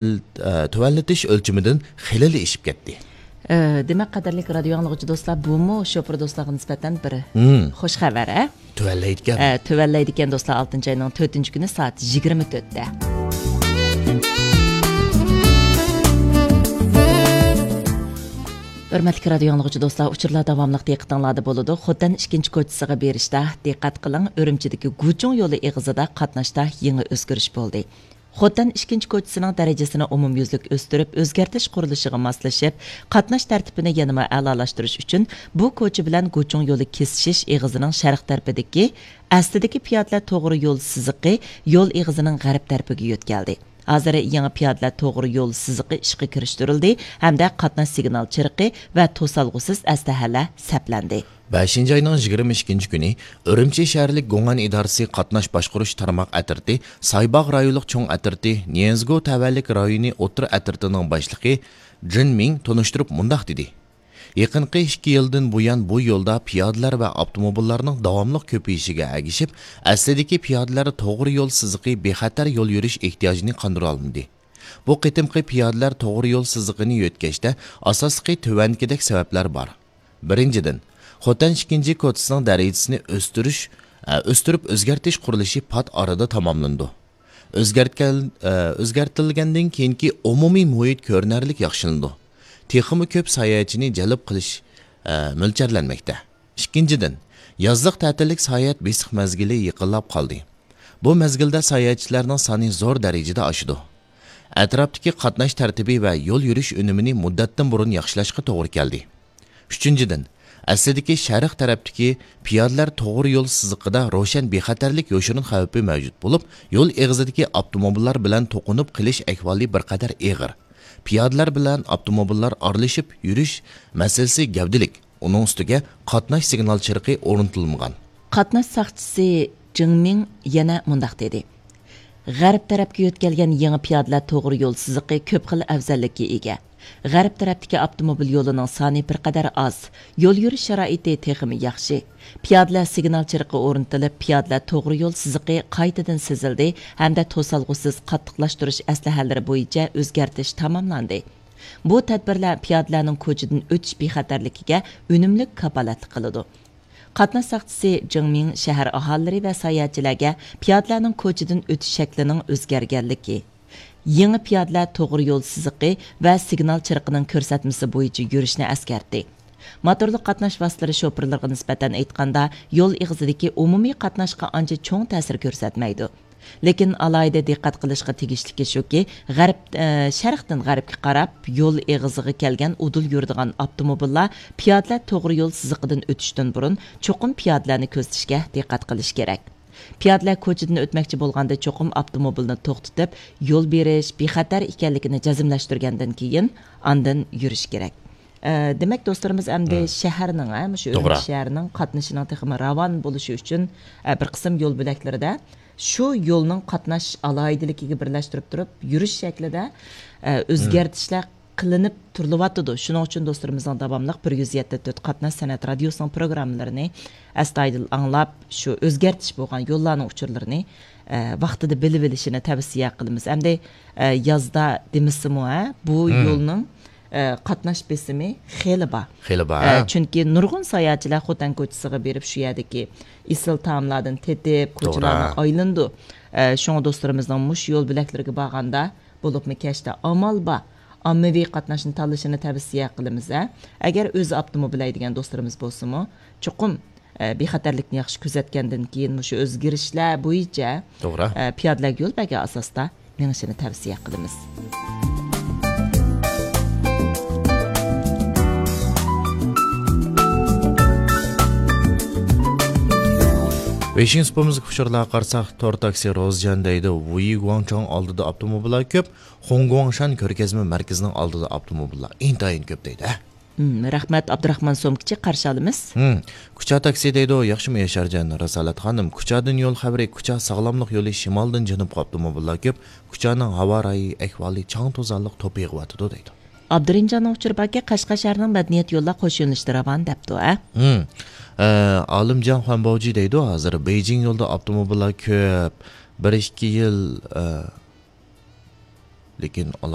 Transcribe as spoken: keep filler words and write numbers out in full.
ئە، تۆۋەنلىتىش ئۆلچىمىدىن خېلىلا ئېشىپ كەتتى. ئە، دېمەك، قەدىرلىك رادىيو ئاڭلىغۇچى دوستلار، بۇمۇ شوپۇر دوستلارغا نىسبەتەن بىر مم. خوش خەۋەر، ھە؟ تۆۋەنلەيدىكەن. ئە، تۆۋەنلەيدىكەن دوستلار، ئالتىنچى ئاينىڭ تۆتىنچى كۈنى سائەت يىگىرمە تۆتتە. ھۆرمەتلىك رادىيو ئاڭلىغۇچى دوستلار، ئۇچۇرلار داۋاملىق دىققىتىڭلاردا بولىدۇ. خوتەن ئىككىنچى كوچىسىغا بېرىشتە دىققەت قىلىڭ، ئۈرۈمچىدىكى گۇچۇڭ يولى ئېغىزىدا قاتناشتا يېڭى ئۆزگىرىش بولدى. خوتەن ئىككىنچى كوچىسىنىڭ دەرىجىسىنى ئومۇميۈزلۈك ئۆستۈرۈپ، ئۆزگەرتىش قۇرۇلۇشىغا ماسلىشىپ، قاتناش تەرتىپىنى يەنىمۇ ئەلالاشتۇرۇش ئۈچۈن، بۇ كوچا بىلەن گۇچۇڭ يولى كېسىشىش ئېغىزىنىڭ شەرق تەرىپىدىكى، ئەسلىدىكى پىيادىلەر توغرا يول سىزىقى يول ئېغىزىنىڭ غەرب تەرىپىگە يۆتكەلدى. ھازىر يېڭى پىيادىلەر توغرا يول سىزىقى ئىشقا كىرىشتۈرۈلدى ھەمدە قاتناش سىگنال چىرىقى ۋە توسالغۇسىز ئەسلىھەلەر سەپلەندى. بەشىنچى ئاينىڭ يىگىرمە ئىككىنچى كۈنى ئۈرۈمچى شەھەرلىك گوڭئەن ئىدارىسى قاتناش باشقۇرۇش تارماق ئەترىتى سايباغ رايونلۇق چوڭ ئەترىتى نيېنزگو تەۋەلىك رايونى ئوتتۇرا ئەترىتىنىڭ باشلىقى جىن مىڭ تونۇشتۇرۇپ مۇنداق دېدى: يېقىنقى ئىككى يىلدىن بۇيان بۇ يولدا پىيادىلەر ۋە ئاپتوموبىللارنىڭ داۋاملىق كۆپىيىشىگە ئەگىشىپ، ئەسلىدىكى پىيادىلەر توغرا يول سىزىقى بىخەتەر يول يۈرۈش ئېھتىياجىنى قاندۇرالمىدى. بۇ قېتىمقى پىيادىلەر توغرا يول سىزىقىنى يۆتكەشتە ئاساسلىقى تۆۋەندىكىدەك سەۋەبلەر بار. بىرىنچىدىن، خوتەن ئىككىنچى كوچىسىنىڭ دەرىجىسىنى ئۆستۈرۈش، ئە، ئۆستۈرۈپ ئۆزگەرتىش قۇرۇلۇشى پات ئارىدا تاماملىنىدۇ. ئۆزگەرتكەن، ئە، ئۆزگەرتىلگەندىن كېيىنكى ئومۇمىي مۇھىت كۆرۈنەرلىك ياخشىلىنىدۇ. تېخىمۇ كۆپ ساياھەتچىنى جەلپ قىلىش، ئە، مۆلچەرلەنمەكتە. ئىككىنچىدىن، يازلىق تەتىللىك ساياھەت بېسىق مەزگىلى يېقىنلاپ قالدى. بۇ مەزگىلدە ساياھەتچىلەرنىڭ سانى زور دەرىجىدە ئاشىدۇ. ئەتراپتىكى قاتناش تەرتىپى ۋە يول يۈرۈش ئۈنۈمىنى مۇددەتتىن بۇرۇن ياخشىلاشقا توغرا كەلدى. ئۈچىنچىدىن، ئەسلىدىكى شەرق تەرەپتىكى پىيادىلەر توغرا يول سىزىقىدا روشەن بىخەتەرلىك يوشۇرۇن خەۋپى مەۋجۇت بولۇپ، يول ئېغىزىدىكى ئاپتوموبىللار بىلەن توقۇنۇپ قېلىش ئەھۋالى بىر قەدەر ئېغىر. پىيادىلەر بىلەن ئاپتوموبىللار ئارىلىشىپ يۈرۈش مەسىلىسى گەۋدىلىك. ئۇنىڭ ئۈستىگە قاتناش سىگنال چىرىقى ئورنىتىلمىغان. قاتناش ساقچىسى جېڭ مىڭ يەنە مۇنداق دېدى: غەرب تەرەپكە يۆتكەلگەن يېڭى پىيادىلەر توغرا يول سىزىقى كۆپ خىل ئەۋزەللىككە ئىگە. غەرب تەرەپتىكى ئاپتوموبىل يولىنىڭ سانى بىر قەدەر ئاز، يول يۈرۈش شارائىتى تېخىمۇ ياخشى. پىيادىلەر سىگنال چىرىقى ئورنىتىلىپ، پىيادىلەر توغرا يول سىزىقى قايتىدىن سىزىلدى ھەمدە توسالغۇسىز قاتتىقلاشتۇرۇش ئەسلىھەلىرى بويىچە ئۆزگەرتىش تاماملاندى. بۇ تەدبىرلەر پىيادىلەرنىڭ كوچىدىن ئۆتۈش بىخەتەرلىكىگە ئۈنۈملۈك كاپالەتلىك قىلىدۇ. قاتناش ساقچىسى جېڭ مىڭ شەھەر ئاھالىلىرى ۋە ساياھەتچىلەرگە پىيادىلەرنىڭ كوچىدىن ئۆتۈش شەكلىنىڭ ئۆزگەرگەنلىكى، يېڭى پىيادىلەر توغرا يول سىزىقى ۋە سىگنال چىرىقىنىڭ كۆرسەتمىسى بويىچە يۈرۈشنى ئەسكەرتتى. موتورلۇق قاتناش ۋاسىتىلىرى شوپۇرلىرىغا نىسبەتەن ئېيتقاندا، يول ئېغىزىدىكى ئومۇمىي قاتناشقا ئانچە چوڭ تەسىر كۆرسەتمەيدۇ. لېكىن ئالاھىدە دىققەت قىلىشقا تېگىشلىكى شۇكى، غەرب، ئە، شەرقتىن غەربكە قاراپ يول ئېغىزىغا كەلگەن ئۇدۇل يۈرىدىغان ئاپتوموبىللار پىيادىلەر توغرا يول سىزىقىدىن ئۆتۈشتىن بۇرۇن چوقۇم پىيادىلەرنى كۆزىتىشكە دىققەت قىلىشى كېرەك. پىيادىلەر كوچىدىن ئۆتمەكچى بولغاندا چوقۇم ئاپتوموبىلنى توختىتىپ، يول بېرىش بىخەتەر ئىكەنلىكىنى جەزملەشتۈرگەندىن كېيىن ئاندىن يۈرۈش كېرەك. ئە، دېمەك، دوستلىرىمىز ئەمدى مم. شەھەرنىڭ، ھە، مۇشۇ توغرا. ئۈرۈمچى شەھىرىنىڭ قاتنىشىنىڭ تېخىمۇ راۋان بولۇشى ئۈچۈن، ئە، بىر قىسىم يول بۆلەكلىرىدە شۇ يولنىڭ قاتناش ئالاھىدىلىكىگە بىرلەشتۈرۈپ تۇرۇپ، يۈرۈش شەكلىدە، ئە، مم. ئۆزگەرتىشلەر قىلىنىپ تۇرۇلۇۋاتىدۇ. شۇنىڭ ئۈچۈن دوستلىرىمىزنىڭ داۋاملىق بىر يۈز يەتتە تۆت قاتناش سەنئەت رادىيوسىنىڭ پروگراممىلىرىنى ئەستايىدىل ئاڭلاپ، شۇ ئۆزگەرتىش بولغان يوللارنىڭ ئۇچۇرلىرىنى، ئە، ۋاقتىدا بىلىۋېلىشىنى تەۋسىيە قىلىمىز. ئەمدى، ئە، يازدا دېمىسىمۇ، ھە، بۇ مم. يولنىڭ، ئە، قاتناش بېسىمى خېلى بار. خېلى بار، ئە، ھە. چۈنكى نۇرغۇن ساياھەتچىلەر خوتەن كوچىسىغا بېرىپ، شۇ يەردىكى ئېسىل تائاملاردىن تېتىپ، توغرا. كوچىلارنى ئايلىنىدۇ. ئە، شۇڭا دوستلىرىمىزنىڭ مۇشۇ يول بۆلەكلىرىگە بارغاندا، بولۇپمۇ كەچتە ئامال بار ئاممىۋى قاتناشنى تاللىشىنى تەۋسىيە قىلىمىز، ھە. ئەگەر ئۆزى ئاپتوموبىل ھەيدىگەن دوستلىرىمىز بولسىمۇ، چوقۇم، ئە، بىخەتەرلىكنى ياخشى كۆزەتكەندىن كېيىن مۇشۇ ئۆزگىرىشلەر بويىچە، توغرا. ئە، پىيادىلەرگە يول بەرگەن ئاساستا مېڭىشىنى تەۋسىيە قىلىمىز. بېشىنچى سۇپىمىزغا ئۇچۇرلارغا قارىساق، تور تاكسى روزجان دەيدۇ، ۋۇيى گۇاڭچاڭ ئالدىدا ئاپتوموبىللار كۆپ، خۇڭگۇاڭشان كۆرگەزمە مەركىزىنىڭ ئالدىدا ئاپتوموبىللار ئىنتايىن كۆپ دەيدۇ، ھە؟ ھىم، رەھمەت، ئابدۇراخمان سومكىچى، قارشى ئالىمىز. ھىم، كۇچا تاكسى دەيدۇ، ياخشىمۇ ياشارجان رىسالەت خانىم؟ كۇچادىن يول خەۋىرى، كۇچا ساغلاملىق يولى شىمالدىن جەنۇبقا ئاپتوموبىللار كۆپ، كۇچانىڭ ھاۋا رايى ئەھۋالى چاڭ توزانلىق توپا يېغىۋاتىدۇ دەيدۇ. ئابدۇرېھىمجاننىڭ ئۇچۇرى باركى، قەشقەر شەھىرىنىڭ مەدەنىيەت يوللار قوش يۆنىلىشىدە راۋان دەپتۇ، ھە؟ ھىم. ئە، ئالىمجان خۇەنباۋجى دەيدۇ، ھازىر بېيجىڭ يولىدا ئاپتوموبىللار كۆپ. بىر ئىككى يىل، ئە، لېكىن ئالا